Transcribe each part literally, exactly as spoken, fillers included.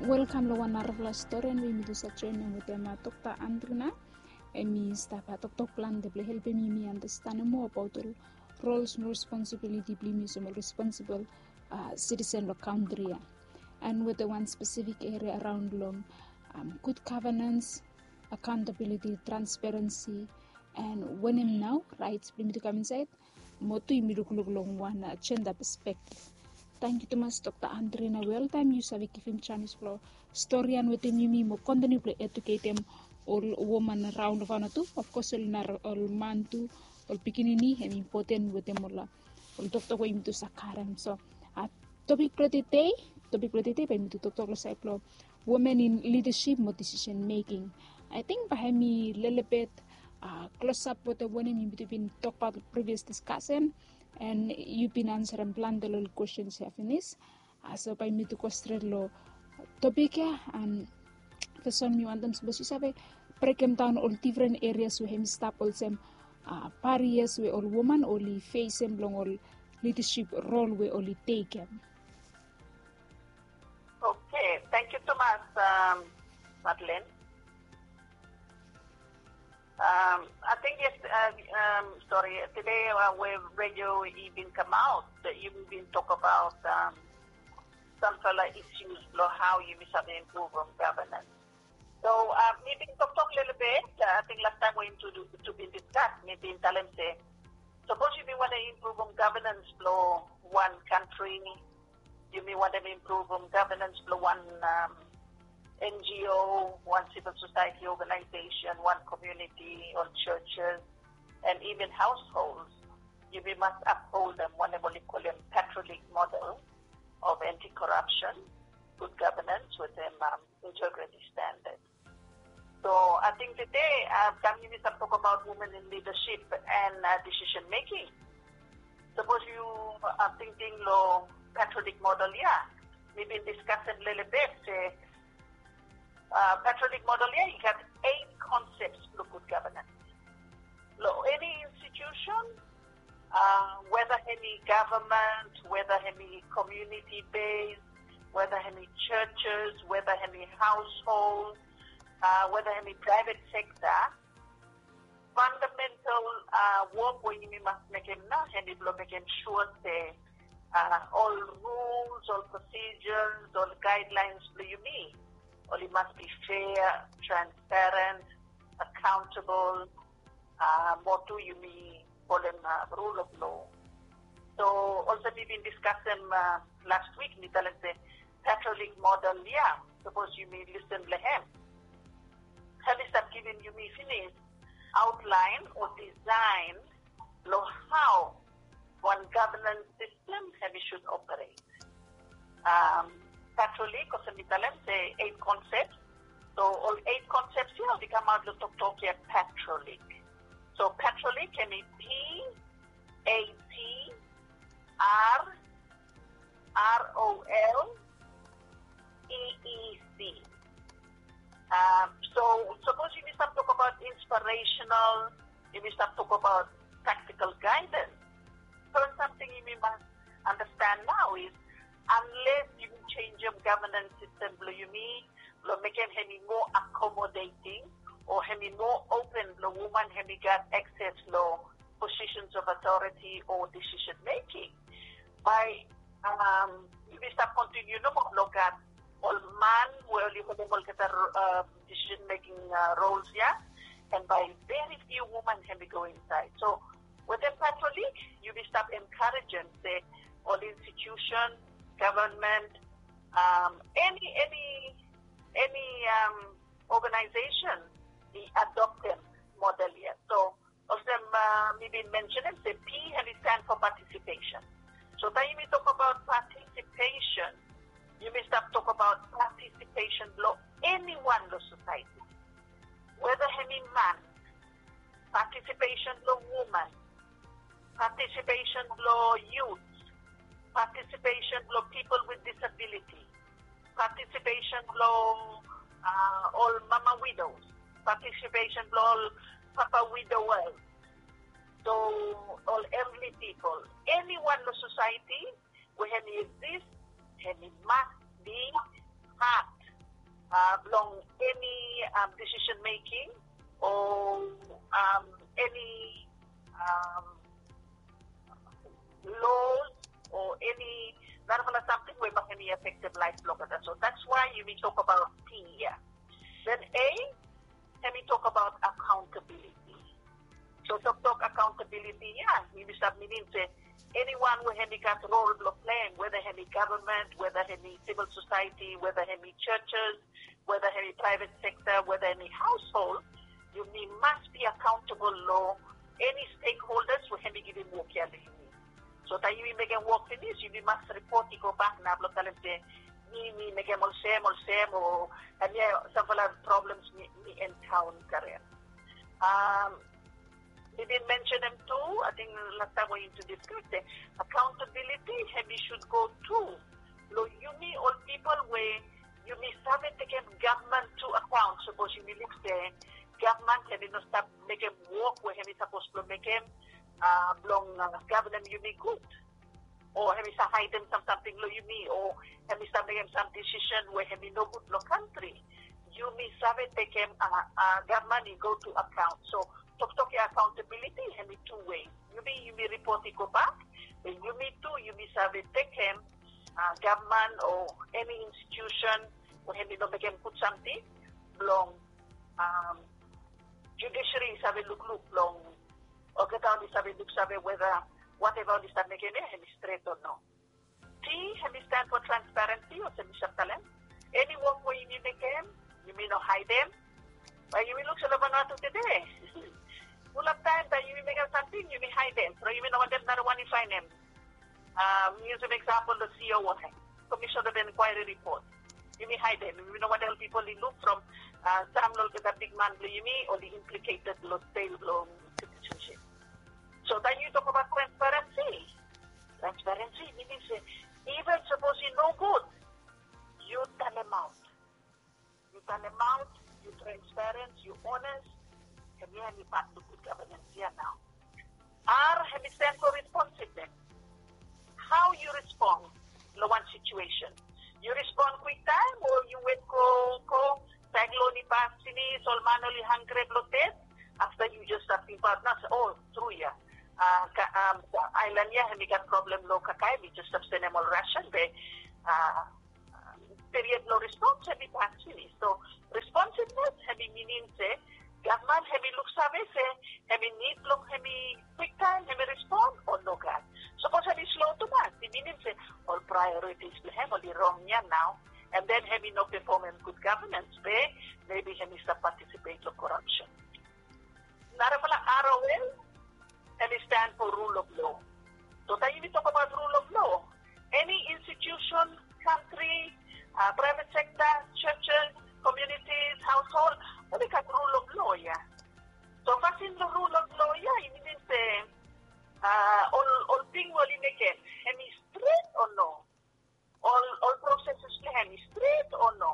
Welkam long wan narafala storian we yumi tu save joinim wetem Dokta Andrina. Em i stap toktok plante blong helpim yumi andastanem moa abaot ol rols mo responsibiliti blong yumi olsem ol responsibol sitisen long kantri ya. And wetem wan spesifik eria araon long gud gavenans, akaontabiliti, transparensi, and wanem nao raets blong yumi tu kam insaed, mo tu yumi lukluk long wan jenda pespektif. Tangkiu tumas Dokta Andrina we oltaem yu save givim janis blong storian wetem yumi mo kontiniu blong eduketem ol woman raon long faona tu, ofkos ol nara ol man tu, ol pikinini hem impoten wetem ol ol toktok we yumi tu save karem. So topik blong tede, topik blong tede bae yumi tu toktok long saed blong women in leadership mo decision making. Ating bae hem i lelebet klosap wetem wanem yumi tu bin tokbaot long previous diskasen, and yu bin ansarem plante long ol kwestens ya finis. So bae yumi tu go stret long topik ya. And fasin mi wantem sapos yu save brekemdaon ol difren erias we hem i stap olsem barias we ol woman oli fesem long ol lidasip rol we oli tekem. Okay, tangkiu tumas, Madeleine. Um, I think yes, uh, um, sorry, tede uh, we redio i bin kamaot, yumi bin tokbaot um, samfala issues blong hao yumi save impruvum gavenans. So uh, mi bin toktok lelebet, uh, ating lastaem we yumi tu bin diskas, mi bin talem se sapos yumi wantem impruvum gavenans blong wan kantri, yumi wantem impruvum gavenans blong wan um, N G O, wan civil society organization, wan community, ol churches, and even households. Yumi mas upholdem wanem oli kolem Catholic model of anti-corruption, good governance wetem um, integrity standards. So ating tede uh, taem yumi stap tokbaot women in leadership and uh, decision making. Sapos yu uh, tingting long Catholic model ya, mi bin diskasem lelebet se uh, Catholic model ya i gat eight concepts blong good governance. Long eni institution, uh, whether hemi government, whether hemi community based, whether hemi churches, whether hemi household, uh, whether hemi private sector, fundamental uh, work we yumi mas mekem nao hemi blong mekem sure se uh, ol rules, ol procedures, ol guidelines blong yumi oli mas be fair, transparent, accountable, uh, mo tu yumi folem uh, rule of law. So olsem mi bin diskasem uh, last week, mi talem se Catholic model ya, sapos yumi listen long hem, hem i stap givim yumi finis outline o design long hao wan governance system hem i should operate. Um, Catholic, olsem mi talem se eight concepts. So ol eight concepts ya oli kamaot long toktok ya Catholic. So Catholic hemi P A T R R O L E E C. Um, so sapos yumi stap tokbaot inspirational, yumi stap tokbaot practical guidance, so wan samting yumi mas understand nao is unless yumi changem governance system blong yumi blong mekem hemi moa accommodating o hemi moa open blong woman hemi gat access long positions of authority o decision making, bae um, yumi stap continue nomo blong gat ol man we oli holem olgeta uh, decision making uh, roles ya, and bae very few woman hemi go inside. So wetem Catholic, yumi stap encouragem se ol institution, government, um, any any any um, organization i adoptem model ya. So olsem uh, mi bin mentionem se P hemi stand for participation. So taem yumi tokbaot participation, yumi stap tokbaot participation blong anyone long society, whether hemi man, participation blong woman, participation blong youth, participation blong people with disability, participation blong uh, ol mama widows, participation blong ol papa widowers, so ol elderly people, anyone long society we hemi exist, hemi mas be part uh, blong any um, decision making or um, any um, laws or any narafala something we making affected life blong. So that's why you may talk about T here. Then A, hemi talk about accountability. So toktok accountability ia, yumi stap minim se anyone we hemi gat role blong play, whether hemi government, whether hemi civil society, whether hemi churches, whether hemi private sector, whether hemi household, yumi must be accountable long any stakeholders we hemi givim wok ia long yumi. So taem yumi mekem wok finis, yumi mas ripot i go bak na blong talem se mi mi mekem olsem olsem o hemia samfala problems mi mi encounter. Um, mi bin mention hem tu, I think last time we introduce correct, eh, accountability hemi should go tu long yumi ol people we yumi save tekem government to account. Sapos yumi luk se government hemi no stap mekem wok we hemi sapos blong mekem uh, blong uh, governem yumi gud. O hemi sa haidem sam samting long yumi o hemi sa mekem sam decision we hemi no gud long kantri. Yumi save tekem uh, uh, government i go to account. So toktok ia accountability hemi two way. Yumi yumi report i go bak. Be yumi tu yumi save tekem uh, government o any institution we hemi no mekem gud samting blong um, judiciary i save lukluk blong olgeta oli save luksave whether whatever oli stap mekem ia hemi stret o no. T hemi stand for transparency olsem mi stap talem. Any wok we yumi mekem yumi no haidem. Bae yumi luk se long Vanuatu tede fulap taem bae yumi mekem samting yumi haidem. So yumi no wantem narawan i faenem. Um, mi yusum example long C O I, Commission of Inquiry Report. Yumi haidem, yumi no wantem ol pipol i luk from uh, sam long olgeta bigman blong yumi oli implicated long sel blong citizenship. So taem yu tokbaot transparency, transparency minim se even sapos i no gud, yu talemaot. Yu talemaot, yu transparent, yu honest, hemia hemi pat blong gud governance ia nao. R hemi stand for responsiveness. Hao yu respond long wan situation? Yu respond kwiktaem o yu wet go go, saiklon i pas finis, ol man oli hanggre blong ded. Afta yu jes stap tingbaot nao se o, tru ia, aelan ia hemi gat problem long kakae, mi jes stap senem ol rasen be period blong respons hemi pas finis. So responsiveness hemi minim se gavman hemi luksave se hemi nid blong hemi kwiktaem hemi respon o nogat. Sapos hemi slo tumas, i minim se ol priorities blong hem oli rong ia nao, and then hemi no pefomem gud gavnans be mebi hemi stap patisipet long korapsen. Narafala R O L, hemi stand for rule of law. So taem yumi tokbaot rule of law, eni institusen, kantri, praevet sekta, churches, communities, hausehold, oli gat rule of law ia. So fasin blong rule of law ia i minim se ol ting we oli mekem hemi stret o no? Ol ol proses blong hem i stret o no?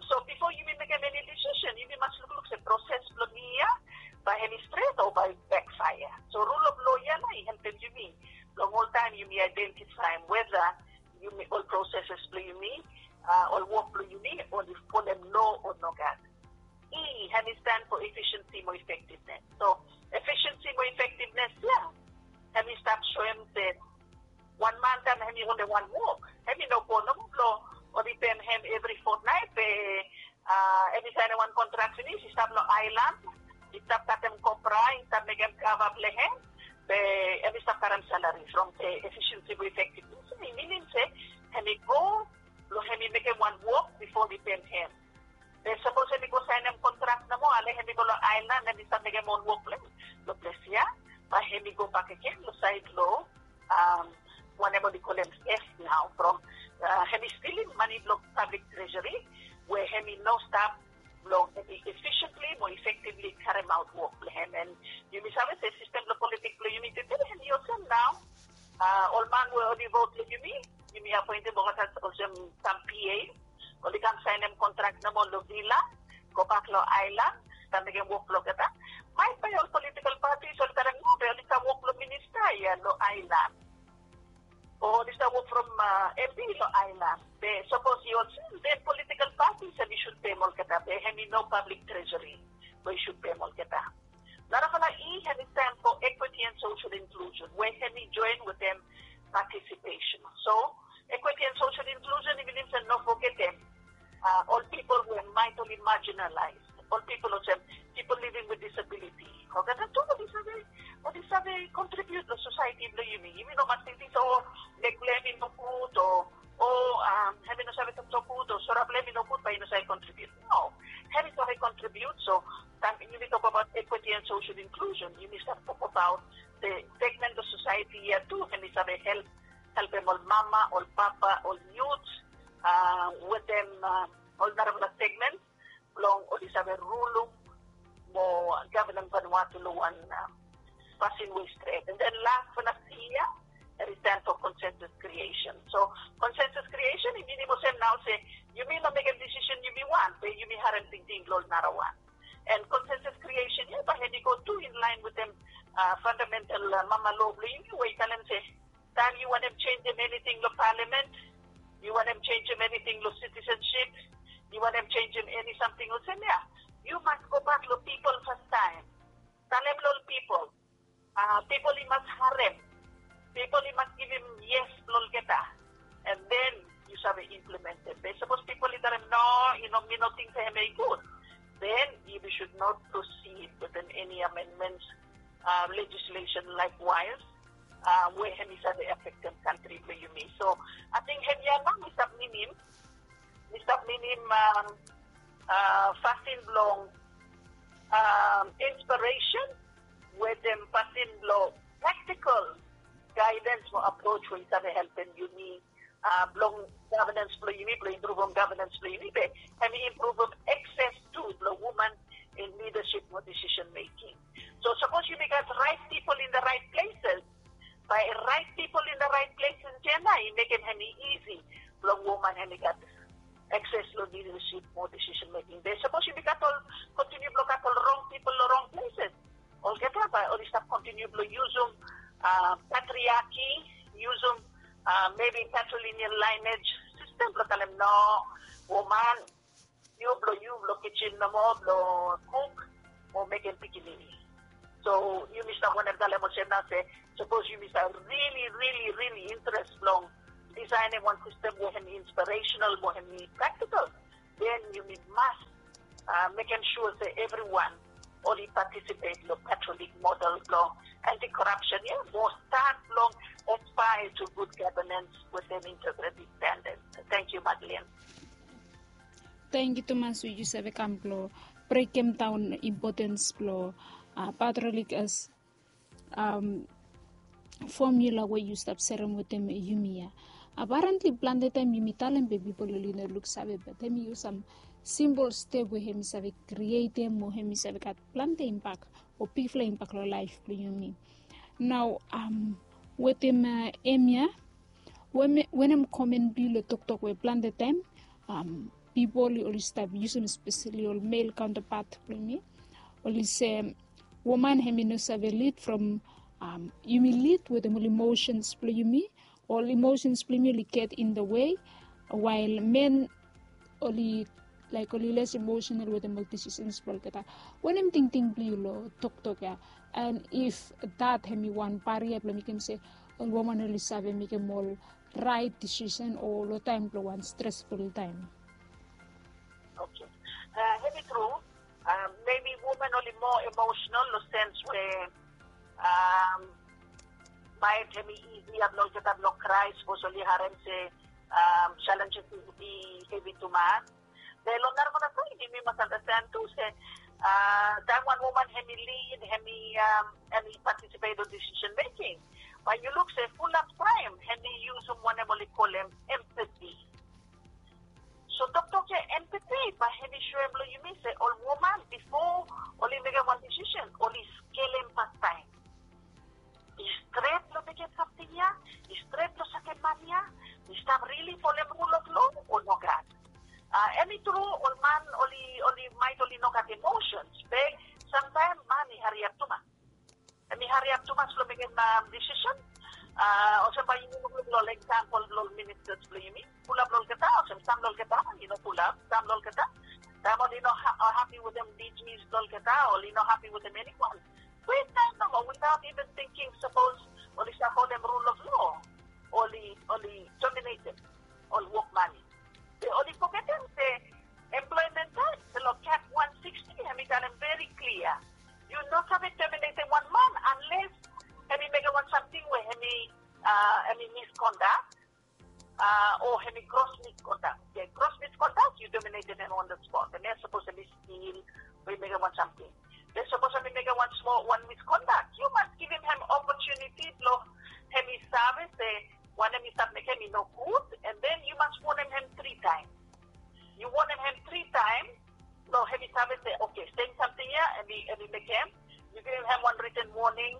So bifo yumi mekem eni disisen yumi mas lukluk se proses blong mi ia bae hem i stret o bae i bekfaea. So rul of lo ia nao i helpem yumi long oltaem yumi aedentifaem weda yumi ol proses blong yumi, ol wok blong yumi oli folem lo o nogat. E, hem i stan fo efisiensi mo efektivnes. So efisiensi mo efektivnes ia hem i stap soem se wan man taem hem i holem wan wok, hem i no go nomo blong oli pem hem evri fotnaet be hem i saenem wan kontrak finis i stap long aelan, i stap katem kopra, i stap mekem kava blong hem, be hem i stap karem salari from efisiensi mo efektivnes. I minim se hem i go blong hem i mekem wan wok bifo oli pem hem. Be sapos hem i go saenem kontrak nomo ale hem i go long aelan hem i stap mekem ol wok blong hem long ples ia, bae hem i go bakegen long saed long wanem oli kolem teft nao from hem i stilim mane blong pablik trejeri we hem i no stap blong hem i efisientli mo efektivli karemaot wok blong hem. And yumi save se sistem blong politik blong yumi tede hem i olsem nao. Ol man we oli vot long yumi, yumi apoentem olgeta olsem sam P A, oli kam saenem kontrak nomo long vila, gobak long aelan, stap mekem wok blong olgeta. Maet bae ol politikal patis oli karem nao be oli kam wok long minista ia long aelan, o oli stap wok from M P long aelan. Be sapos i olsem den politikal patis Olgetem, ol pipol we maet oli marginalize, ol pipol olsem pipol living with disability, olgeta tu oli save, oli save contribute long society blong yumi. Yumi no mas tingting se o, leg blong hem i no gud, o, o, hem i no save toktok gud, o sora blong hem i no gud, bae i no save contribute. No, hem i save contribute. So taem yumi tok abaot equity and social inclusion, yumi save tok abaot the segment of society ya tu hem i save help, helpem ol mama, ol papa, ol youth, wetem ol narafala segment blong oli save rulum mo gavenem Vanuatu long wan pasin we i stret. And then last but not least, it is time for consensus creation. So consensus creation i minim olsem nao se yumi no mekem decision yumi want, be yumi harem tingting blong ol narawan. And consensus creation ya bae hem i go tu in line wetem fundamental mama law blong yumi we i talem se taem yu wantem changem anything long parliament, yu wantem changem anything long citizenship, yu wantem changem any samting olsem ya, yu mas gobak long pipol fastaem. Talem long ol pipol, pipol i mas harem. Pipol i mas givim yes long olgeta. And then yu save implementem. Be sapos pipol i talem no, i no, mi no ting se hem i gud, then you should not proceed with an, any amendments, legislation likewise, we hem i save afektem kantri blong yumi. So ating hemia nao mi stap minim, mi stap minim fasin blong inspiration wetem fasin blong practical guidance mo approach we i save helpem yumi blong governance blong yumi, blong impruvem governance blong yumi, be hem i impruvem access tu blong woman in leadership mo decision making. So sapos yumi gat right people in the right places, bae right people in the right places ya nao i mekem hem i easy blong woman hem i gat access long leadership mo decision making. Be sapos yumi gat ol, kontiniu blong gat ol wrong people long wrong places, olgeta bae oli stap kontiniu blong yusum patriarchy, yusum maybe patrilineal lineage system blong talem no, woman, yu blong, yu blong kijin nomo blong kuk mo mekem pikinini. So yumi stap wantem talem olsem nao se sapos yumi stap really, really, really interest blong designem wan system we hem i inspirational mo hem i practical, then yumi mas mekem sua se evriwan oli participate long Catholic model blong anti-corruption ya mo start blong aspire to good governance wetem integrity standards. Thank you, Madeleine. Tangkiu tumas we yu save kam blong brekem daon impotens blong patriotik as formula we yu stap serem wetem yumi ya. Apparently plante taem yumi talem be pipol oli no luksave, be taem yu yusum sam simpol step we hem i save krietem o hem i save gat plante impak o bigfala impak long laef blong yumi. Nao wetem hemia, wanem komen blong yu long toktok we plante taem pipol oli stap yusum, espeseli ol male counterpart blong yumi, oli se woman hem i no save lead from, yumi lead wetem ol emotions blong yumi, ol emotions blong yumi oli get in the way, while men oli laek oli les emotional wetem ol decisions blong olgeta. Wanem tingting blong yu long toktok ya? And if that hem i wan barrier blong mekem se ol woman oli save mekem ol right decision o long taem blong wan stressful taem? Okay. Hem i tru, maybe woman oli moa emotional long sens we maet hem i isi ya blong olgeta blong krai sapos oli harem se challenges i hevi tumas. Be long narafala taem yumi mas andasten tu se taem wan woman hem i lead, hem i, hem i participate long decision making, bae yu luk se fulap taem hem i yusum wanem oli kolem empathy. So toktok ya empathy bae hem i soem long yumi se ol woman bifo oli mekem wan decision oli skelem fastaem. I stret long mekem samting ya? I stret long sakem man ya? I stap rili folem rul of law o nogat? Hem i tru ol man oli, oli maet oli no gat emotions, be samtaem man i hariap tumas. Hem i hariap tumas long mekem decision. Olsem bae yumi lukluk long ol example blong ol ministers blong yumi, fulap long olgeta, olsem sam long olgeta i no fulap, sam long olgeta taem oli no hapi wetem D Gs blong olgeta, oli no hapi wetem eniwan, kwiktaem nomo, without even thinking sapos oli save folem rul of law, oli, oli terminatem ol wokman. Be oli misconduct. Okay, gross misconduct, yu terminated hem on the spot. Hemia sapos hemi stil o i mekem wan samting. Be sapos hemi mekem wan smol wan misconduct, yu mas givim hem opportunity blong hemi save se wanem i stap mekem i no gud, and then yu mas wonem hem tri taem. Yu wonem hem tri taem blong hemi save se, okay, sem samting ya hemi mekem. Yu givim hem wan written warning,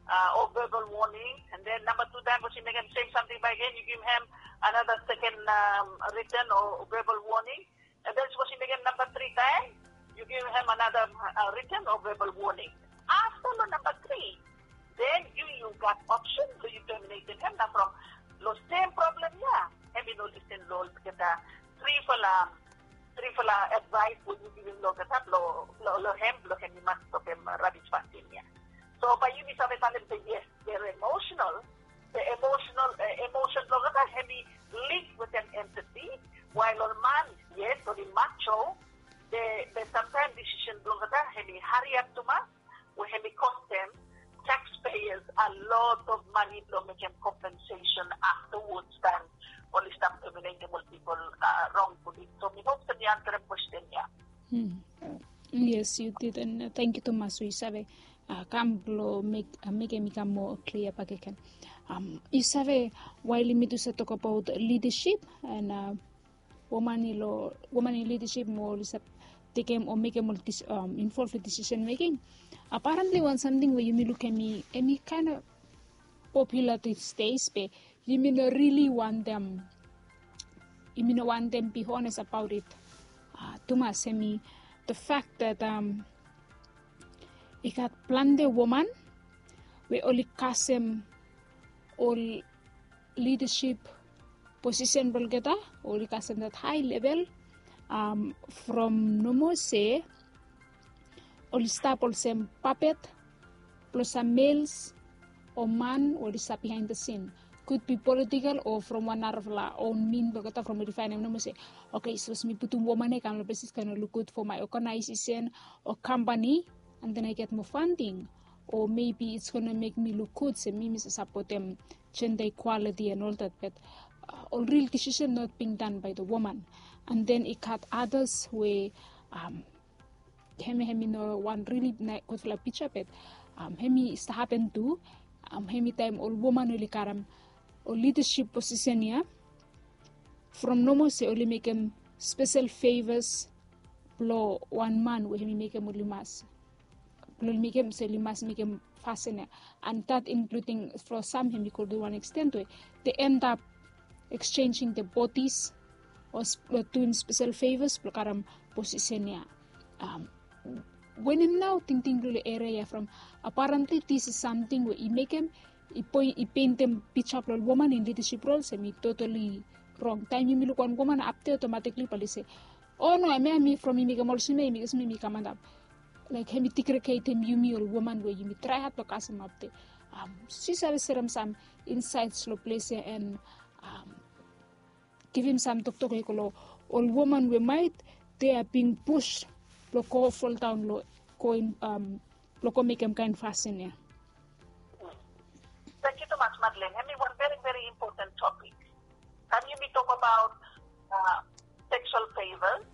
uh, o verbal warning, and then namba tu taem sapos i mekem sem samting bakegen, yu givim hem another second, um, written o verbal warning, and then sapos i mekem namba tri taem, yu givim hem another, uh, written o verbal warning. Afta long namba tri, then yu yu gat option blong yu terminated hem. Na from long sem problem ya, hemi no listen long olgeta trifala, trifala advice we yu givim long olgeta blong, blong, blong hem, blong hemi mas stopem rabis fasin ya. So bae yumi save talem se yes, they're emotional. The emotional, uh, emotion blong olgeta hemi link wetem empathy. Wael ol man, yes, oli macho, be, be samtaem decision blong olgeta hemi hariap tumas, we hemi kostem taxpayers a lot of money blong mekem compensation afterwards taem oli stap terminatem ol pipol, uh, wrongfully. So mi hop se mi ansarem kwesten ya. Hmm. Yes, yu did, and, uh, tangkiu tumas we yu save, uh, kam blong mek, uh, mekem i kam moa klia bakegen. Um, yu save, wael yumi tu save tokbaot lidasip, and, uh, woman i long, woman in lidasip mo oli save tekem o mekem ol dis-, um, involve long decision making. Apparently wan samting we yumi luk hemi, hemi kaen of popular these days, be yumi no really wantem, yumi no wantem be honest about it, uh, tumas, hemi the fact that, um, i gat plante woman we oli kasem ol lidasip posisen blong olgeta, oli kasem that high level, um, from nomo se oli stap olsem puppet blong sam males o man we oli stap behind the scene. Could be political o from wan narafala own mean blong olgeta from oli faenem nomo se, okay, sapos mi putum woman ya i kam long ples i gonna look good for my organization o company, and then I get more funding, or maybe it's gonna make me look good se mi mi save sapotem gender equality and all that, but, uh, ol real decision not being done by the woman. And then i gat others we, um, hemi, hemi no wan really gudfala pija, but, um, hemi stap hapen tu, um, hemi taem ol woman oli karem ol lidasip posisen ya, from nomo se oli mekem spesel favors blong wan man we hemi mekem oli mas, blong oli mekem se oli mas mekem fasin ya. And that including from sam hemi go to one extent we they end up exchanging their bodies o duim spesel favors blong karem posisen ya. Um, wanem nao tingting blong ol eria ya from apparently this is samting we i mekem i poi-, i peintem pija blong ol woman in lidasip rol se hemi totally rong. Taem yumi luk wan woman apde, automatically bae oli se, o no, hemia hemi from i mekem olsem ya, i mekem olsem ya, hemi kam antap. Laek hemi degradem yumi ol woman we yumi trae had blong kasem apde. Um, sapos yu save serem sam insights long ples ya and, um, givim sam toktok i go long ol woman we maet they are being pushed blong go fall down long go in, um, blong go mekem kaen fasin ya. Tangkiu tumas, Madeleine. Hemi wan very, very important topic. Taem yumi tokbaot, uh, sexual favors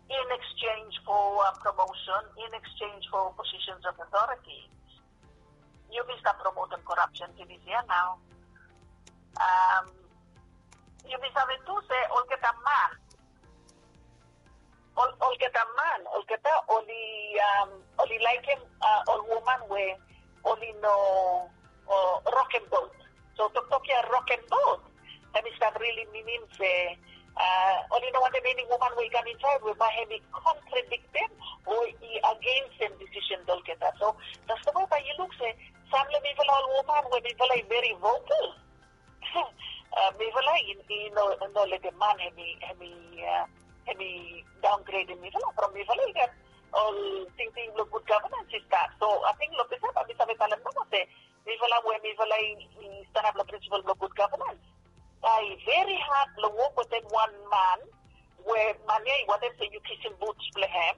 in exchange for, uh, promotion, in exchange for positions of authority, yumi stap promotem corruption finis ya nao. Um, yumi save tu se olgeta man, ol-, olgeta man, olgeta oli, um, oli laekem, uh, ol woman we oli no, uh, rokem boat. So toktok ya rokem boat, hemi stap really minim se, uh, oli no wantem eni woman we i kam insaed we bae hemi contradictem o i againstem decision blong olgeta. So that's the way bae yu luk se sam long mifala ol woman we mifala i very vocal, uh, mifala i, i no, no letem man hemi, hemi, uh, hemi downgradem mifala from mifala i gat ol tingting blong good governance i stap. So ating long ples ya bae mi save talem nomo se mifala we mifala i, i stanap long principle blong good governance, bae i very hard blong wok wetem wan man we man ya i wantem se yu kisim boots blong hem,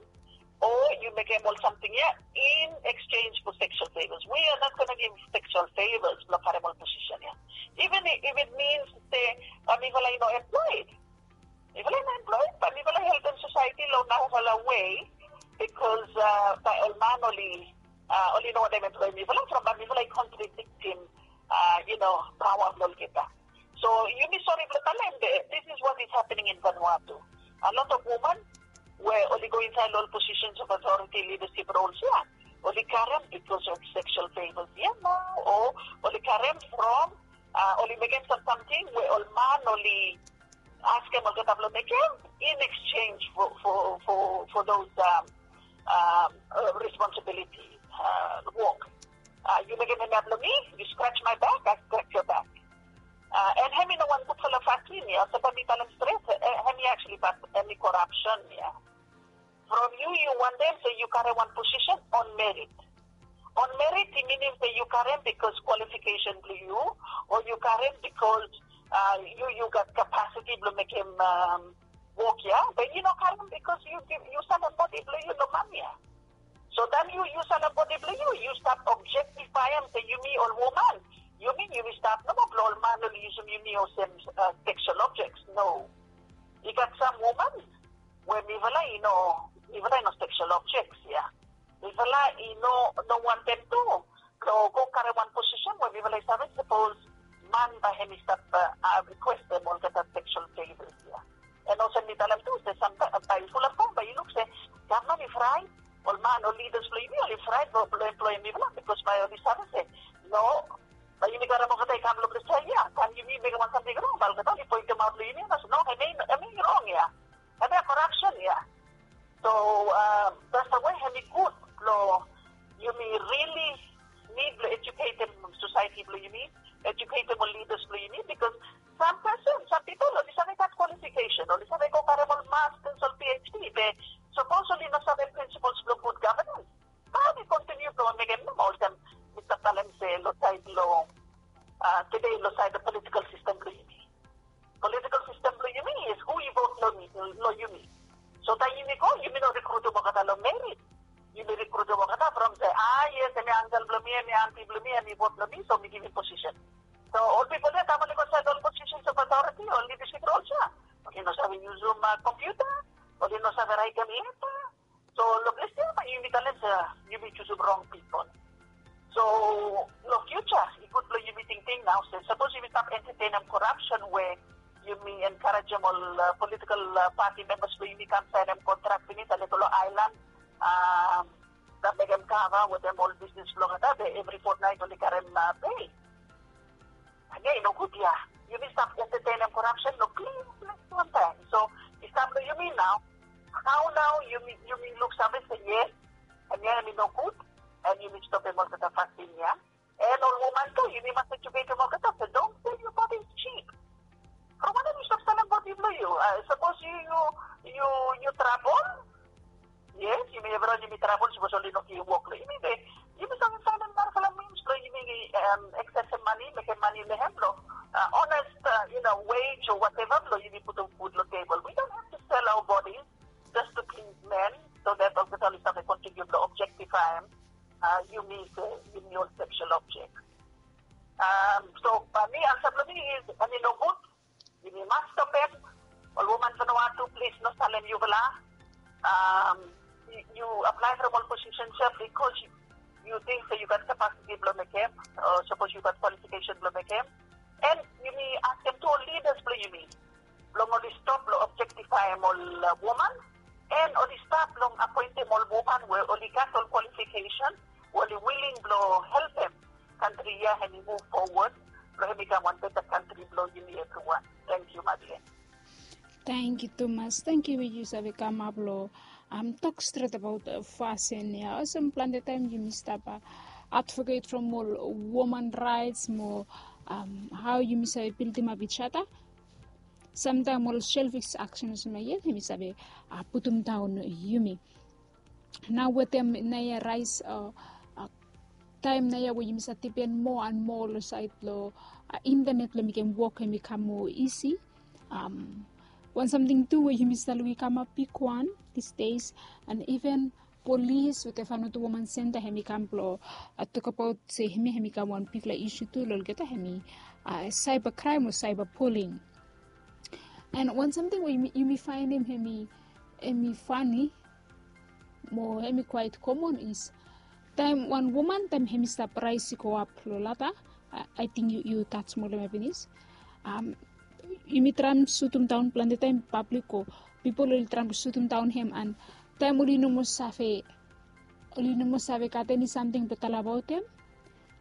O yu mekem ol samting ya in exchange for sexual favors. We are not gonna give sexual favors blong karem ol position ya. Even if it means se ba mifala i no employed, mifala i no employed ba mifala i helpem society long narafala way, because uh, ba ol man oli uh, oli no wantem employ mifala from ba mifala i contradictim uh, you know, pawa blong olgeta. So yumi sori blong talem be this is what is happening in Vanuatu. A lot of woman we oli go inside ol positions of authority leadership roles ya, oli karem because of sexual favors ya, no? O oli karem from uh, oli mekem sam samting we ol man oli askem olgeta blong mekem in exchange for, for, for, for those um, um, uh, responsibility uh, work. Uh, yu mekem hemia blong mi, you scratch my back, I scratch your back. Uh, and hemi no wan gudfala fasin ya, so ba mi talem stret, uh, hemi actually but hemi corruption ya. From yu, yu wantem se yu karem wan position on merit. On merit i minim se yu karem because qualification blong yu, o yu karem because uh, yu yu gat capacity blong mekem um, wok ya. Be yu no karem because yu yu sanem bodi blong yu long man ya. So taem yu yu sanem bodi blong yu, yu stap objectifyem se yumi ol woman, yumi yumi stap nomo blong ol man oli yusum yumi olsem uh, sexual objects. No. I gat sam woman we mifala i no, mifala i no sexual objects ya. Mifala i no no wantem tu blong go karem wan position we mifala i save sapos man ba hemi stap uh, requestem olgeta sexual favors ya. And olsem mi talem tu se samtaem ba i fulap taem ba i luk se gavman i fraet, ol man ol leaders blong yumi oli fraet blong employem mifala because ba oli save se no, ba yumi karem olgeta i kam long ples ya, taem yumi mekem wan samting rong ba olgeta oli pointemaot long yumi, no, hemi hemi rong ya. Hemia corruption ya. So um, that's the way hemi gud blong yumi really need blong educatem society blong yumi, educatem ol leaders blong yumi, because sam person, sam pipol oli save gat qualification, oli save go karem ol masters, ol PhD, be sapos oli no save principles blong good governance, ba oli continue blong mekem nomo olsem mi stap talem se long saed long uh, tede long saed long political system blong yumi. Political system blong yumi is who i vote long mi, long yumi. So taem yumi go, yumi no recruitim olgeta long merit. Yumi recruitim olgeta from se, ah yes, hemi uncle blong mi, hemi aunty blong mi, hemi vote long mi, so mi givim position. So ol pipol ya taem oli go inside ol positions of authority, ol leadership roles ya, oli no save yusum uh, computer, oli no save raetem leta. So long ples ya bae yumi talem se yumi jusum rong pipol. So long future i gud blong yumi tingting nao se sapos yumi stap entetenem corruption we yumi enkarejem ol uh, political uh, party members blong yumi kam saenem kontrak pinis, a lego long aelan, um, stap mekem kava wetem ol bisnis blong olgeta be evri fotnaet oli karem uh, pei. Ania i no gud ya. Yumi stap entetenem corruption long klin ples wantaem. So i stap long yumi nao. Hao nao yumi yumi luksave se yes, hemia hemi no gud, and yumi stopem olgeta fasin ya. And ol woman tu yumi mas educatem olgeta se don't sell your body cheap. From wanem yu stap sanem bodi blong yu? Sapos yu yu yu yu trabol, yes, yumi evriwan yumi trabol sapos oli no givim wok long yumi, be yumi save faenem narafala means blong yumi accessem mane, mekem mane long hem blong honest, you know, wage o whatever blong yumi putum food long table. We don't have to sell our bodies just to please men, so that olgeta oli save continue blong objectifyem yumi se yumi ol sexual object. So mi ansa blong mi is, hemi no gud. Yumi mas stopem. Ol woman Vanuatu, plis no salem yufala. Yu aplae from ol posisen ya bikos yu ting se yu gat kapasiti blong mekem, o sapos yu gat kwalifikesen blong mekem. An yumi askem tu ol lidas blong yumi blong oli stop long objektifaem ol woman, an oli stat long apoentem ol woman we oli gat ol kwalifikesen, we oli wiling blong helpem kantri ya hemi muv fowod, blong hemi kam wan beta kantri blong yumi evriwan. Tangkiu, Madeleine. Tangkiu tumas. Tangkiu we yu save kamap long tok stret abaot fasin ya. Olsem plante taem yumi stap advoket from ol woman raets mo hao yumi save bildimap ijada. Samtaem ol selfis aksen olsem ya yet hemi save putumdaon yumi. Nao wetem naoia raes, taem naoia we yumi save dipen moa an moa long saed blong intenet blong mekem wok hemi kam moa isi. Wan samting tu we yumi save lukim i kamap bigwan disdes, an iven polis wetem faenoto woman senta hem i kam blong tokabaot se hem ya hem i kam wan bigfala isu tu long olgeta hem i cyber crime o cyber bullying. And wan samting we yumi faenem hem i fani mo hem i kwait komon is taem wan woman taem hem i stap raes i go ap long lata, ating yu tas molem ya pinis. Yumi traem sutumdaon plante taem pablik o pipol oli traem sutumdaon hem an taem oli no moa save oli no moa save gat eni samting blong talabaot hem.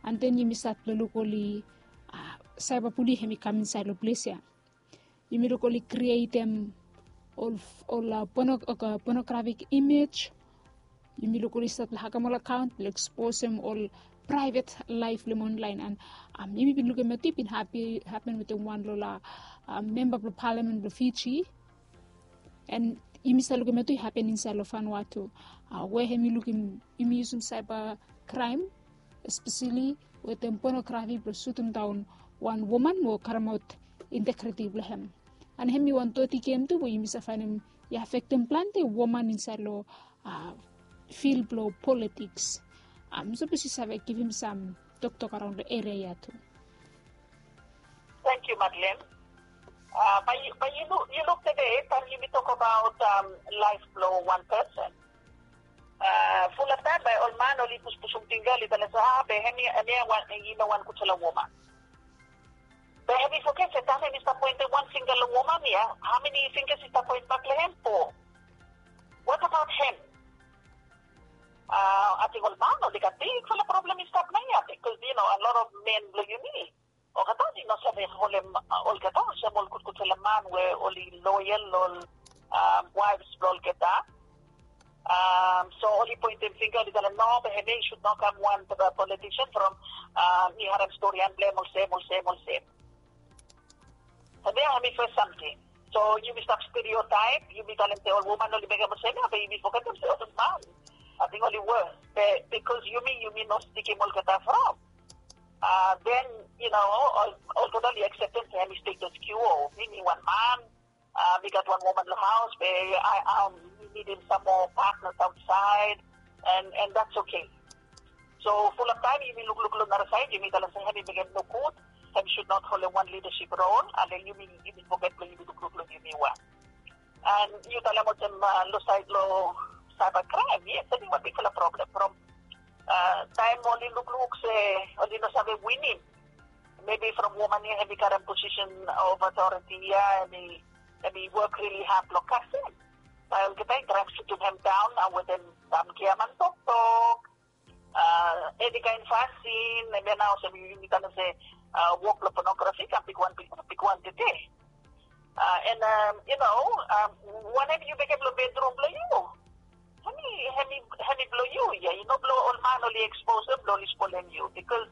An den yumi stat long luk oli saeba buli hem i kam insaed long ples ya. Yumi luk oli krietem ol ol ponografik imej. Yumi luk oli stat long hakam ol akaon blong eksposem ol praevet laef blong hem onlaen an yumi bin lukim ya tu i bin hapen wetem wan long ol memba blong palamen blong Fiji. An yumi save lukim ya tu i hapen insaed long Vanuatu we hem i lukim yumi yusum saeba kraem espeseli wetem ponografi blong sutumdaon wan woman mo karemaot integriti blong hem. An hem i wan doti gem tu we yumi save faenem i afektem plante woman insaed long fil blong politiks. Sapos yu save givim sam toktok araon long eria ya tu. Thank you, Madeleine. Bai yu luk tede taem yumi tokabaot laef blong wan pesen. Fulap taem bai ol man oli puspusum fingga oli talem se a be hem ya i no wan gudfala woman. Be hem i foget se taem hem i stap poentem wan fingga long woman ya, hao meni finggas i stap poent bak long hem po? What about hem? Ating ol man oli gat bigfala problem i stap long ya bikos yu no a lot of men blong yumi olgeta oli no save holem olgeta olsem ol gudgudfala man we oli loyal long ol waefs blong olgeta. So oli poentem fingga oli talem no be hem ya i sud no kam wan politisen from mi harem storian blong hem olsem olsem olsem. Hem ya hem i fes samting. So yumi stap stereotaep yumi talem se ol woman oli mekem olsem ya be yumi fogetem se ol man ating oli wes be bikos yumi yumi no stikim olgeta from den yu no olgeta oli akseptem se hem i status quo. Mi mi wan man, mi gat wan woman long haos be mi nidim sam moa patnas aotsaed. And that's okay. So fulap taem yumi lukluk long narasaed yumi talem se hem i mekem nogud. Hem sud not holem wan lidasip rol ale yumi yumi foget blong yumi lukluk long yumi wan. And yu talem olsem long saed long saeba kraem yes em i wan bigfala problem from taem oli lukluk se oli no save winim. Mebi from woman ya hem i karem posisen of otoriti ya hem i wok rili had blong kasem. Bae olgeta i traem sutum hem daon nao wetem sam giaman toktok, eni kaen fasin em ya nao olsem yumi talem se wok blong ponografi i kam bigwan bigwan tede. And yu no wanem yu mekem long bedrum blong yu, hem i blong yu ya i no blong ol man oli eksposem blong oli spolem yu bikos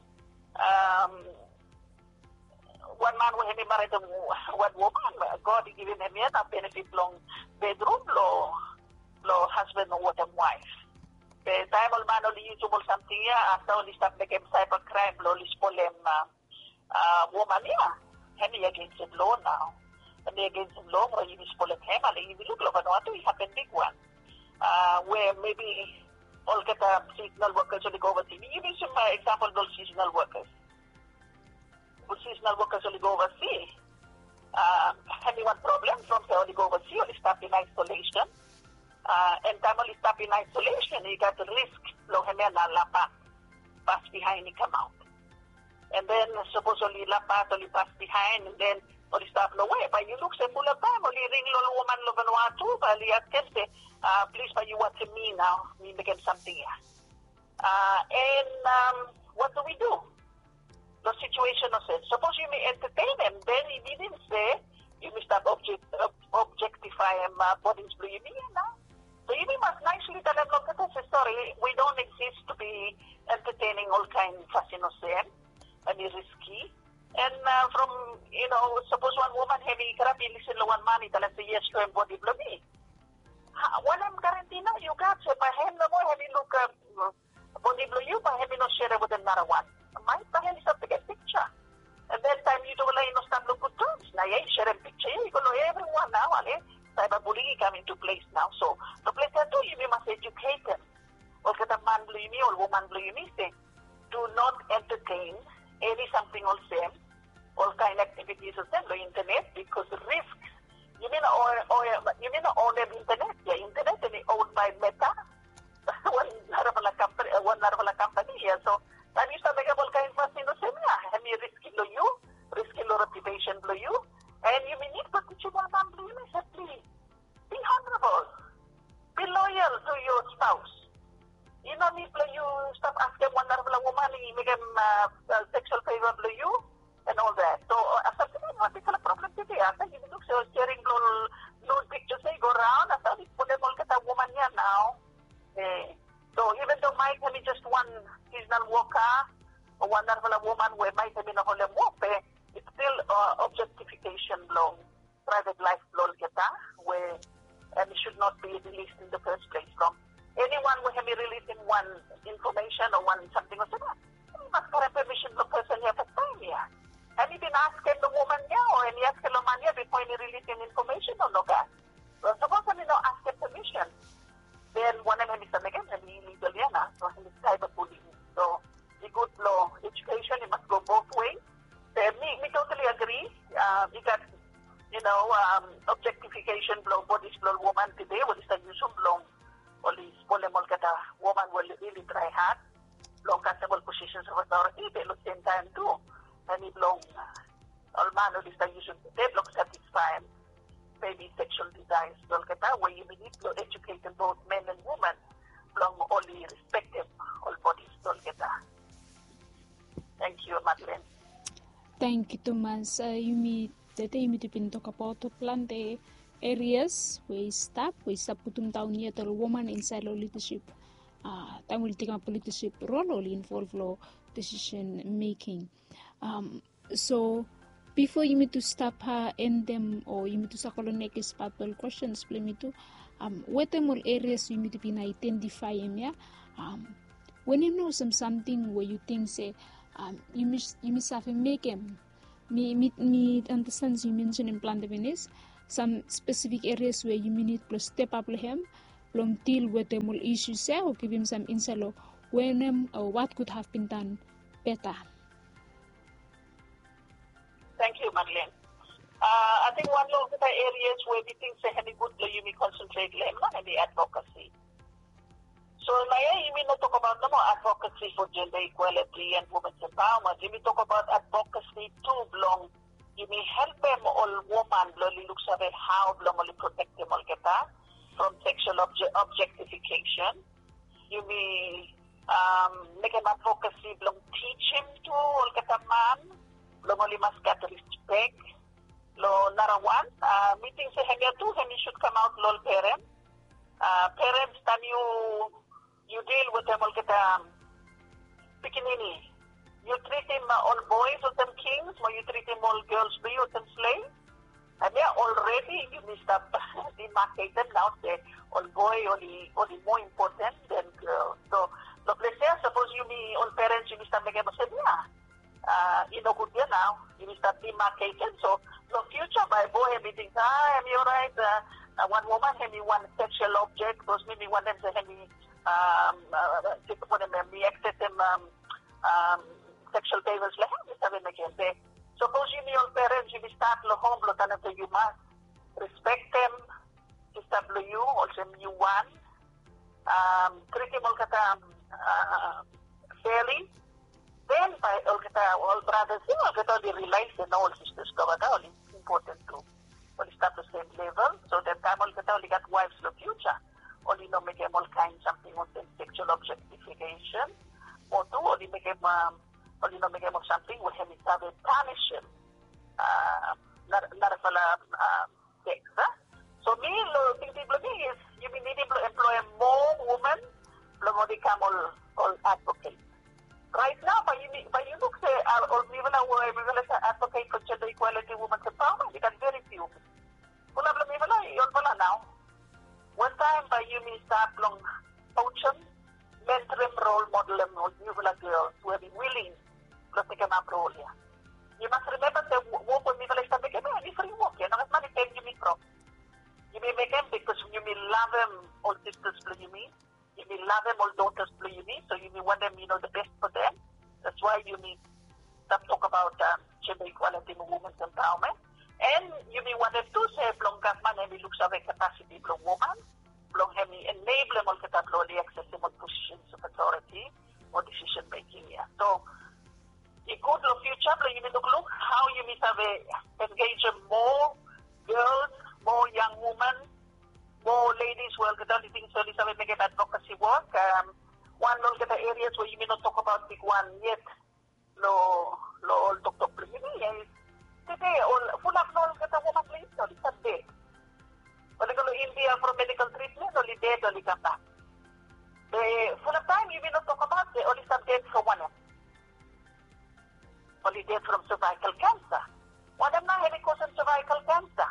wan man we hem i maretem wan woman, God i givim hem ya na benefit blong bedrum blong blong hasban wetem waef. Be taem ol man oli yusum ol samting ya afta oli stap mekem saeba kraem blong oli spolem woman ya, hem i agensim lo nao. Hem i agensim lo from yumi spolem hem ale yumi luk long Vanuatu i hapen bigwan we mebi olgeta seasonal wokas oli go ovasi. Yumi yusum eksampol blong ol seasonal wokas. Ol seasonal wokas oli go ovasi, hem i wan problem from se oli go ovasi oli stap in aisolesen. And taem oli stap in aisolesen i gat risk blong hem ya na lapat pas bihaen i kamaot. And then sapos oli lapat oli pas bihaen and then oli stap long we bae yu luk se fulap taem oli ring long ol woman long Vanuatu bae oli askem se plis bae yu wantem mi nao mi mekem samting ya. And what do we do? Long situesen olsem sapos yumi entetenem den i minim se yumi stap objektifaem bodis blong yumi ya nao. So yumi mas naesli talem long olgeta se sori we don't exist to be entertaining olkaen fasin olsem. Hem i riski. And from yu no sapos wan woman hem i krap i lisin long wan man i talem se yes soem bodi blong mi. Wanem garanti nao yu gat se bae hem nomo hem i luk bodi blong yu bae hem i no serem wetem narawan? Maet bae hem i stap tekem piksa. And then taem yutufala i no stap long gud tams na ya i serem piksa ya i go long evriwan nao ale saeba buling i kam intu ples nao. So long ples ya tu yumi mas ejuketem olgeta man blong yumi, ol woman blong yumi se, do not entertain eni samting olsem, ol kaen aktivitis olsem long internet, bikos risk, yumi no own, yumi no own internet ya. Internet hemi own by Meta, wan narafala kampani ya. So taem yu stap mekem ol kaen fasin olsem ya, hemi riski long yu, riski long reputesen blong yu. And yumi nid blong tijim ol man blong yumi se plis, be honorable, be loyal to your spouse. I no nid blong yu stap askem wan narafala woman i mekem seksual feva blong yu and all that. So afta tede wan bigfala problem tede, afta yumi luk se ol sharing blong ol nude pictures ya i go raon, afta oli punem olgeta woman ya nao. So even though Mike hemi just wan seasonal worker o wan narafala woman we Mike hemi no holem wok, be it's still objectification blong private life blong olgeta, we and it should not be released in the first place from anyone we hemi rilisim wan information o wan samting olsem ya. Hemi mas karem permission blong person ya fastaem ya. Hemi bin askem long woman ya o hemi askem long man ya bifo hemi rilisim information o nogat? Well, sapos hemi no askem permission, then wanem hemi stap mekem? Hemi illegal ya nao. So hemi cyberbullying. So i gud blong education i mas go both way. Be mi, mi totally agree. I gat, you know, objectification blong bodis blong ol woman tede we oli stap yusum blong oli spolem olgeta woman we oli really try hard blong kasem ol positions of authority. Be long sem taem tu, hemi blong ol man oli stap yusum tede blong satisfaem maybe sexual desires blong olgeta, we yumi nid blong educatem both men and women blong oli respektem ol bodis blong olgeta. Thank you, Madeleine. Thank you, Thomas. Yumi tede yumi tu bin tokbaot plante areas we i stap, we i stap putum daon yet ol woman insaed long leadership, taem oli tekemap leadership rol, oli involve long decision making. So bifo yumi tu stap endem o yumi tu save go long nekis pat blong ol kwestens blong yumi tu, wetem ol areas we yumi tu bin aedentifaem ya, wanem nao olsem samting we yu ting se yumi save mekem? Mi, mi, mi andasten se yu mensenem plante finis sam spesifik areas we yumi nid blong step ap long hem blong dil wetem ol isus ya o givim sam insaed long wanem o what could have been done better. Thank you, Madeleine. Ating wan long olgeta areas we mi ting se hemi gud blong yumi concentrate long hem nao hemi advocacy. So naoia yumi no tokbaot nomo advocacy for gender equality and women's empowerment. Yumi tokbaot advocacy tu blong yumi helpem ol woman blong oli luksave hao blong oli protektem olgeta from sexual objectification. Yumi mekem advocacy blong tijim tu olgeta man blong oli mas gat rispek. Long narawan, mi ting se hemia tu hemi sud kamaot long ol perens. Perens, taem yu, yu dil wetem olgeta pikinini, yu tritim ol boes olsem kings mo yu tritim ol gels blong yu olsem slev. Hemia already yumi stap demarcatem nao se ol boe oli, oli moa impoten den gel. So long ples ya sapos yumi ol perens yumi stap mekem olsem ya, i no gud ya nao. Yumi stap demarcatem. So long future bae boe hemi ting se hemi oraet, wan woman hemi wan sexual object, bikos mi, mi wantem se hemi, wanem, mi acceptem sexual favors long hem, mi save mekem. Be sapos yumi ol perens yumi stat long hom blong talem se yu mas respektem sista blong yu olsem yu wan, tritim olgeta fairly, den bae olgeta ol bratas ya olgeta oli realize se nao ol sistas blong olgeta oli impoten tu. Oli stap long sem level, so den taem olgeta oli gat waefs long future, oli no mekem ol kaen samting olsem sexual objectification, mo tu oli mekem, oli no mekem ol samting we hemi save panisim narafala sex. So mi, long tingting blong mi is yumi nidim blong employem moa woman blong oli kam ol, ol advocate. Raet nao bae yumi, bae yu luk se ol mifala we mifala save advocate for gender equality, women's empowerment, i gat very few. Fulap blong mifala i olfala nao. Wantaem bae yumi stat long kousim, mentorem, role modelem ol niufala gels we hemi willing blong tekemap rol ya. Yu mas rimemba se wok we mifala i stap mekem ya hemi fri wok ya, nogat mane pem yumi from. Yumi mekem bikos yumi lavem ol sistas blong yumi. Yumi lavem ol daughters blong yumi, so yumi wantem, you know, the best for them. That's why yumi stap tok about um, gender equality mo women's empowerment. And yumi wantem tu se blong gavman hemi luksave capacity blong woman blong hemi enablem olgeta blong oli accessem ol positions of authority o decision making ia. So i gud long future blong yumi lukluk how yumi save engage more girls, more young women, more ladies we olgeta oli ting se oli save mekem advocacy work. Um, wan long olgeta areas we yumi no tok about bigwan yet lo lo ol toktok blong yumi ia is tede ol fulap long olgeta woman blong yumi oli stap ded. Oli go long India from medical treatment, oli ded, oli kambak. Be fulap taem yumi no tok about se oli stap ded from wanem. Oli ded from cervical cancer. Wanem nao hemi kosem cervical cancer?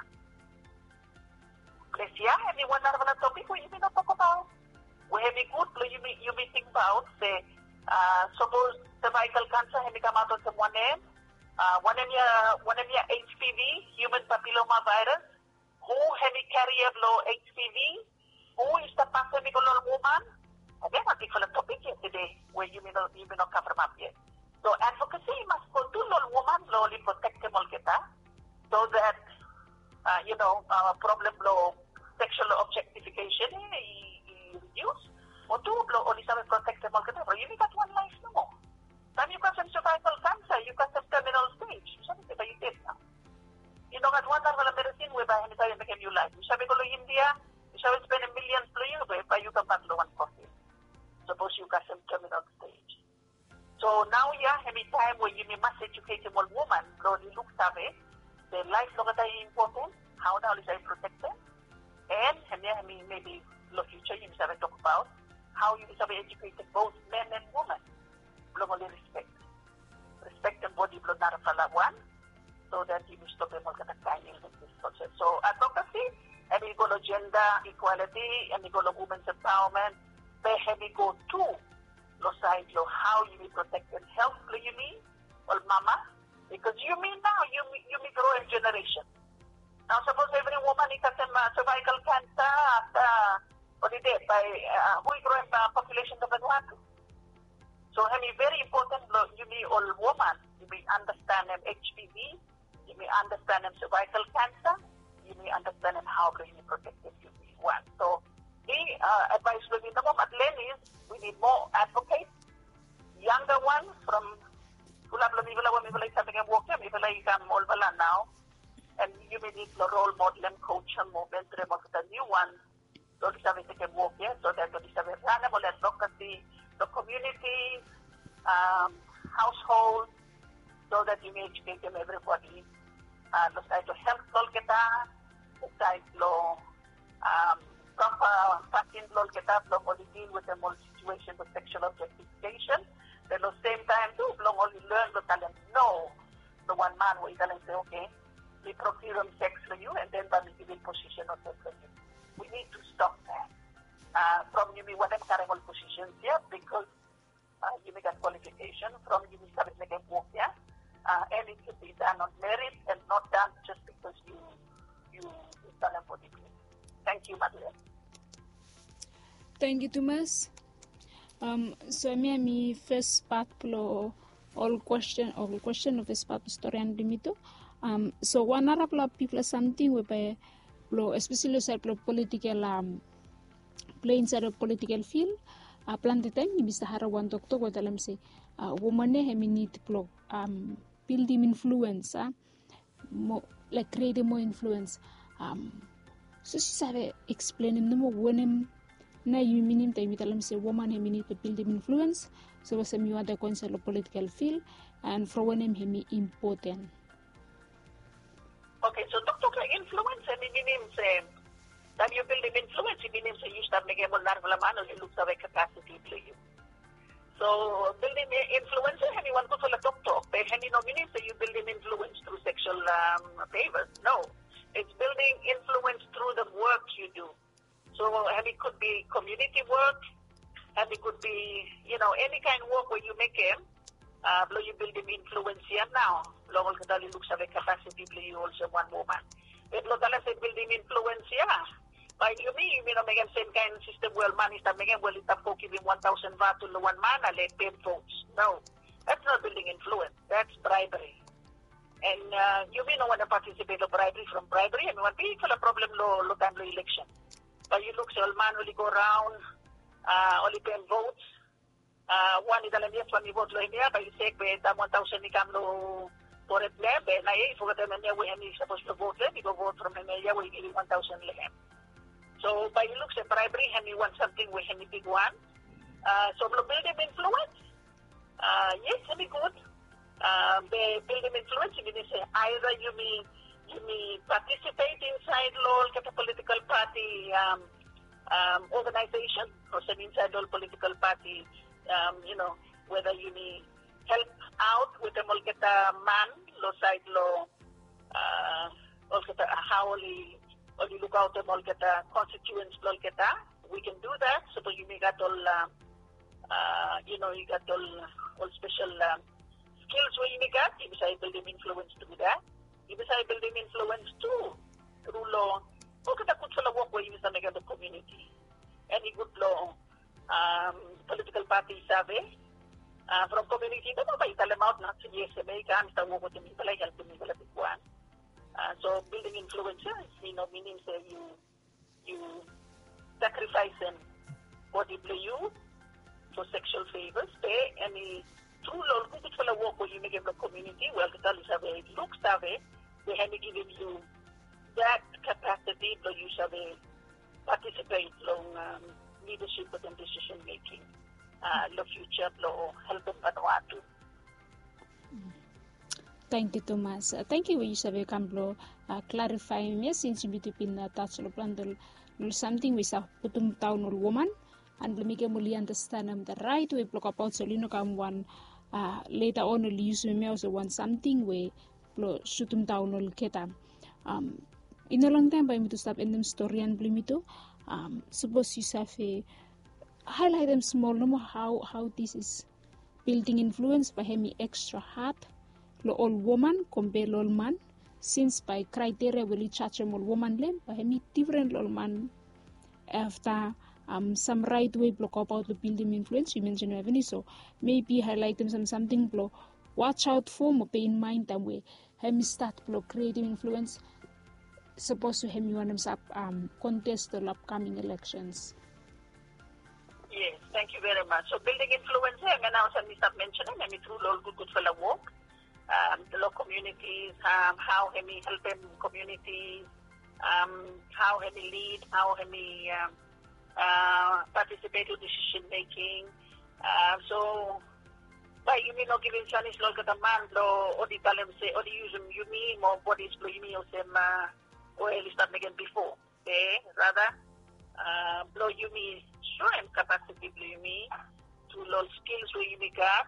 Ples ia hemi wan narafala topik we yumi no tok about. We hemi gud blong yumi yumi tingbaot se uh, sapos cervical cancer hemi kamaot olsem wanem, uh, wanem ia wanem ia H P V, human papilloma virus, hu hemi carrier blong H P V, hu i stap pasem i go long woman. Again, wan bigfala topik ia tede we yumi no yumi no kavremap yet. So advocacy i mas go tu long woman blong oli protektem olgeta, so that uh, you know uh, problem blong sexual objectification i, i reduce. Mo tu blong oli save protektem olgeta blong yumi gat wan laef nomo. Taem yu kasem cervical cancer, yu kasem terminal stage, yu save se bae yu ded nao. I no gat wan narafala medicine we bae hemi save mekem yu laef. Yu save go long India, yu save spenem millions blong yu be bae yu kambak long wan coffin. Sapos yu kasem terminal stage. So nao ia hemi taem we yumi mas educatem ol woman blong oli luksave se laef blong olgeta i important, hao nao oli save protektem. And hemia hemi maybe long future yumi save tok about hao yumi save educatem both men and woman blong oli respect, respektem bodi blong narafala wan, so that yumi stopem olgeta kaen illnesses olsem. So advocacy hemi go long gender equality, hemi go long women's empowerment, be hemi go tu long saed long hao yumi protektem health blong yumi, ol mama, bikos yumi nao yumi yumi groem generation. Nao sapos evri woman i kasem uh, cervical cancer afta oli ded, bae uh, hu i groem uh, population blong Vanuatu? So hemi very important blong yumi ol woman yumi understandem H P V, yumi understandem cervical cancer, yumi understandem hao blong yumi protektem yumi wan. So mi uh, advice blong mi nomo, Madeleine, is we need more advocates, younger ones from fulap long mifala we mifala i stap mekem wok ia, mifala i kam olfala nao. And yumi nid long role modelem, coachem mo mentorem olgeta niu wan blong oli save tekem wok ia, so that oli save ranem ol advocacy long community, um, household, so that yumi educatem everybody uh, long saed long health blong olgeta, long saed long um, proper pasin blong olgeta blong oli deal wetem ol situation blong sexual objectification. Be long same time tu blong oli learn blong talem no long wan man we i talem se okay, mi procurem sex long yu and then bae mi givim position olsem long yu. We need to stop that. Uh, from yumi wantem karem ol positions ia because uh, yumi gat qualification, from yumi save mekem wok ia. Uh, and it should be done on merit and not done just because you you talem bodi blong. Thank you, Madeleine. Thank you tumas. Um, so hemia hemi first part blong ol question, ol question o first part blong stori blong yumi tu. Um, so wan narafala bigfala samting we bae blong especially long saed blong political um, play insaed long political field. Uh, plante taem yumi stap harem wan toktok we talem se uh, woman ia hemi nid blong um, bildim influence uh, mo laik krietem moa influens. Sapos yu save eksplenem nomo wanem nao yu minim taem yu talem se woman hemi nid blong bildim influens, sapos hemi wantem go insaed long political fil, and from wanem hemi impoten? Oke, so toktok long influens hemi minim se taem yu bildim influens i minim se yu stap mekem ol narafala man oli luksave kapasiti blong yu. So bildim influens ia hemi wan gudfala toktok, be hemi no minim se yu bildim influens tru seksual favors. No, it's building influence through the work you do. So hemi could be community work, hemi could be, you know, any kind work we yu mekem blong yu bildim influens ia nao long olgeta oli luksave kapasiti blong yu olsem wan woman. Be blong talem se bildim influens ia Bae yumi, yumi no mekem semkaen sistem we ol man i stap mekem, we oli stap go givim wan taosen vatu long wan man, ale ten votes. No, that's not building influence, that's bribery. And yumi no wantem participate long bribery from bribery, hemi wan bigfala problem long taem blong election. Bae yu luk se ol man oli go raon, oli ten votes, wan i talem yes, wan i vot long hemia, bae i sek be taem wan taosen i kam long fored blong hem, be naoia i fogetem hemia we hemi sapos blong vot long hem, i go vot from hemia ia we i givim wan taosen long hem. So bae i luk se bribery hemi wan samting we hemi bigwan. So blong bildim influens, yes, hemi gud. Be bildim influens i minim se aeda yumi, yumi participate insaed long olgeta political party organization, olsem insaed long ol political party, you know, weda yumi help aot wetem olgeta man long saed long olgeta, hao oli, oli lukaotem olgeta constituents blong olgeta. We can do that. Sapos yumi gat ol, you know, yu gat ol, ol spesel skills we yumi gat, yumi save bildim influens tru that. Yumi save bildim influens tu tru long olgeta gudfala wok we yumi save mekem long komuniti. Hemi gud long political party i save from komuniti, nomo bae i talemaot nao se yes, hemia i kam i stap wok wetem mifala, i helpem mifala bigwan. So bildim influens ia i no minim se yu, yu sakrifaesem bodi blong yu for sexual favors, be hemi tru long ol gudgudfala wok we yu mekem long komuniti, we olgeta oli save luksave, we hemi givim yu that capacity blong yu save participate long leadership wetem decision making long future blong helpem Vanuatu. Tangkiu tumas. Tangkiu we yu save kam blong klarifaem ia, sins yumi tu bin tas long plante ol samting we i save putum daon ol woman, and blong mekem oli andastanem the right way blong kapaot, so oli no kam wan, later on oli yusum hemia olsem wan samting we blong sutum daon olgeta. I no longtaem bae yumi tu stap endem storian blong yumi tu. Sapos yu save haelaetem smol nomo hao, hao this is building influens, bae hemi ekstra had long ol woman kompea long ol man, sins bae kraeteria we oli jajem ol woman long hem bae hemi difren long ol man. Afta sam raet wei blong goabaot long bildim influens, yu mensenem eveni, so maybe haelaetem sam samting blong watch out for mo pay in mind taem we hemi stat blong krietem influens, sapos we hemi wantem stap kontes long upcoming elections. Yes, thank you very much. So building influence ia hemia nao olsem mi stap mentionem, hemi tru long ol gudgudfala wok long communities, hao hemi helpem communities, hao hemi lead, hao hemi participate long decision making. So bae yumi no givim janis long olgeta man blong oli talem se oli yusum yumi mo bodis blong yumi olsem we oli stap mekem bifo. Be rata blong yumi soem kapasiti blong yumi tru long ol skils we yumi gat,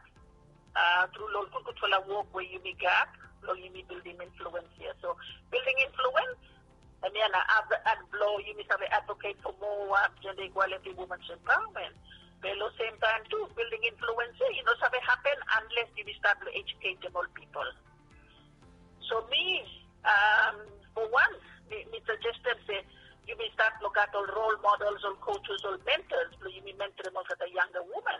tru long ol gudgudfala wok we yumi gat, blong yumi bildim influens ia. So bildim influens hemia nao blong yumi save advocate for more jenda ikwaliti, womens empowerment. Be long sem taem tu bildim influens ia i no save hapen anles yumi stat blong ejuketem ol pipol. So mi, fo wan, mi sajestem se yumi stat blong gat ol rol models, ol coaches, ol mentors blong yumi mentorem olgeta yanga woman.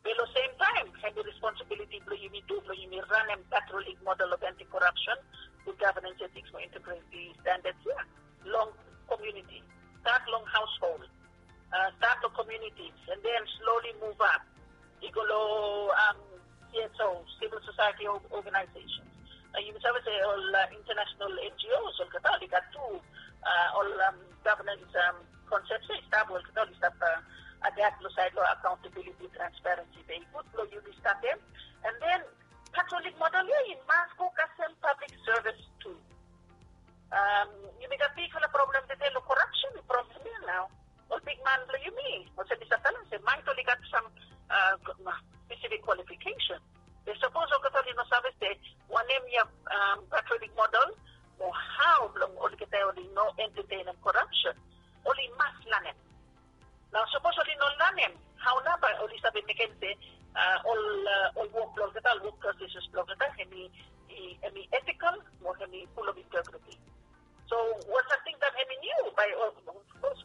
Be long sem taem hemi responsibiliti blong yumi tu blong yumi ranem Patrol League model of anti-corruption, good governance ethics mo integrity standards ia long komuniti. Stat long haosold, stat long communities, and then slowly move up i go long CSO, civil society organizations. Nao yumi save se ol international NGOs olgeta oli gat tu ol governance concepts ia i stap, olgeta oli stap adapt long saed long accountability, transparency. Be i gud blong yumi statem. And then Patrol League model ia i mas go kasem public service tu. Yumi gat bigfala problem tede long corruption, problem ia nao ol bigman blong yumi olsem mi stap talem se maet oli gat sam specific qualification. Be sapos olgeta oli no save se wanem ia Patrol League model mo hao blong olgeta oli no entertainem corruption, oli mas lanem. Nao sapos oli no lanem, hao nao bae oli save mekem se ol wok blong olgeta, ol wok proses blong olgeta hemi ethical mo hemi full of integrity. So wan samting taem hemi niu bae of course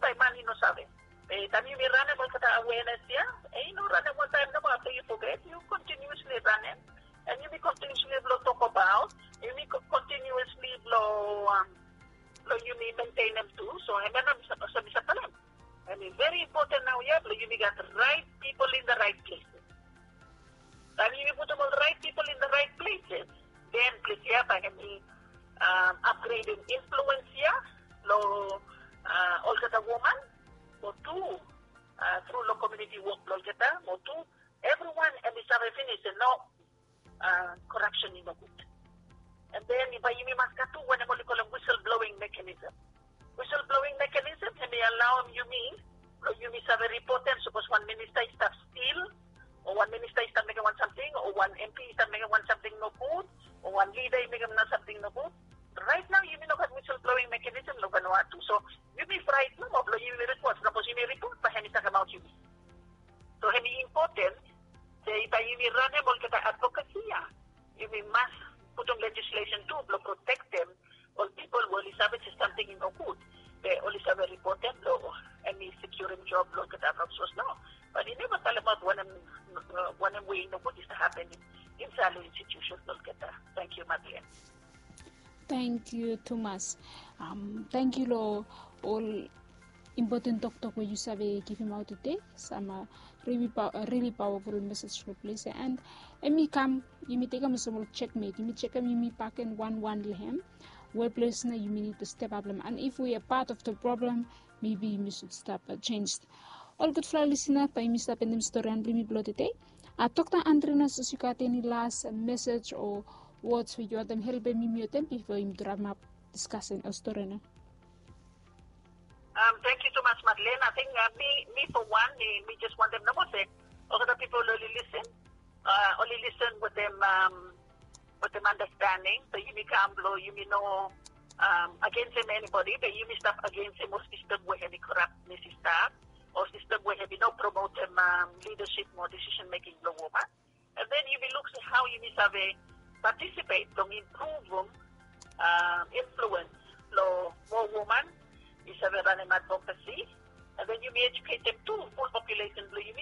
save. Be taem yumi ranem olgeta awenes ya, e i no ranem wantaem nomo afta yu foget, yu kontinuesli ranem. And yumi kontinuesli blong tokbaot, yumi kontinuesli blong blong yumi mentenem tu. So hemia nao mi save talem, hemi veri impoten naoia blong yumi gat rait pipol in the right places. Taem yumi putum ol rait pipol in the right places, den ples ya bae hemi apgredem influens ya long olgeta woman, mo tu tru long komuniti wok blong olgeta, mo tu evriwan hemi save finis se no, korapsen i no gud. And then bae yumi mas gat tu wanem oli kolem whistle blowing mechanism. Whistle blowing mechanism hemi alaoem yumi blong yumi save ripotem sapos wan minista i stap stil, o wan minista i stap mekem wan samting, o wan MP i stap mekem wan samting nogud, o wan lida i mekem wan samting nogud. Rait nao yumi no gat whistle blowing mechanism long Vanuatu. So yumi fraet nomo blong yumi ripot, sapos yumi ripot bae hemi takemaot yumi. So hemi impoten se bae yumi ranem olgeta advocacy ya, yumi mas putum legislation tu blong protektem ol pipol we oli save se samting i no gud, be oli save ripotem blong hemi sekiurem job blong olgeta from sapos nao. Bat i neva talemaot wanem, wanem we i no gud i stap hapenem insait long institusen blong olgeta. Tangkiu Madeleine. Tangkiu tumas. Tangkiu long ol impoten toktok we yu save givimaot tede. Sam rili pawaful mesej long ples ya. And hemi kam, yumi tekem olsem ol jekmet, yumi jekem, yumi baken wanwan long hem. Weples nao yumi nid step ap long hem. And if we a pat of the problem, maybe yumi sud stap jenj. Ol gudfala lisina, bae yumi stap endem storian blong yumi blong tede. Dokta Andrinas, sapos yu gat eni las mesej o wods we yu wantem helpem yumi wetem bifo yumi rapemap diskasen o storian ya? Tangkiu tumas Madeleine. Ating mi, mi fo wan, mi jes wantem nomo se olgeta pipol oli lisen, oli lisen wetem wetem andastaning, be yumi kam blong yumi no agensem enibodi, be yumi stap agensem ol sistem we hemi korap, hemi stap, ol sistem we hemi no promotem lidasip mo disisen meking blong woman. And then yumi luk se hao yumi save patisipet blong impruvum influens blong moa woman i save ranem advokasi. And then yumi ejuketem tu ful populesen blong yumi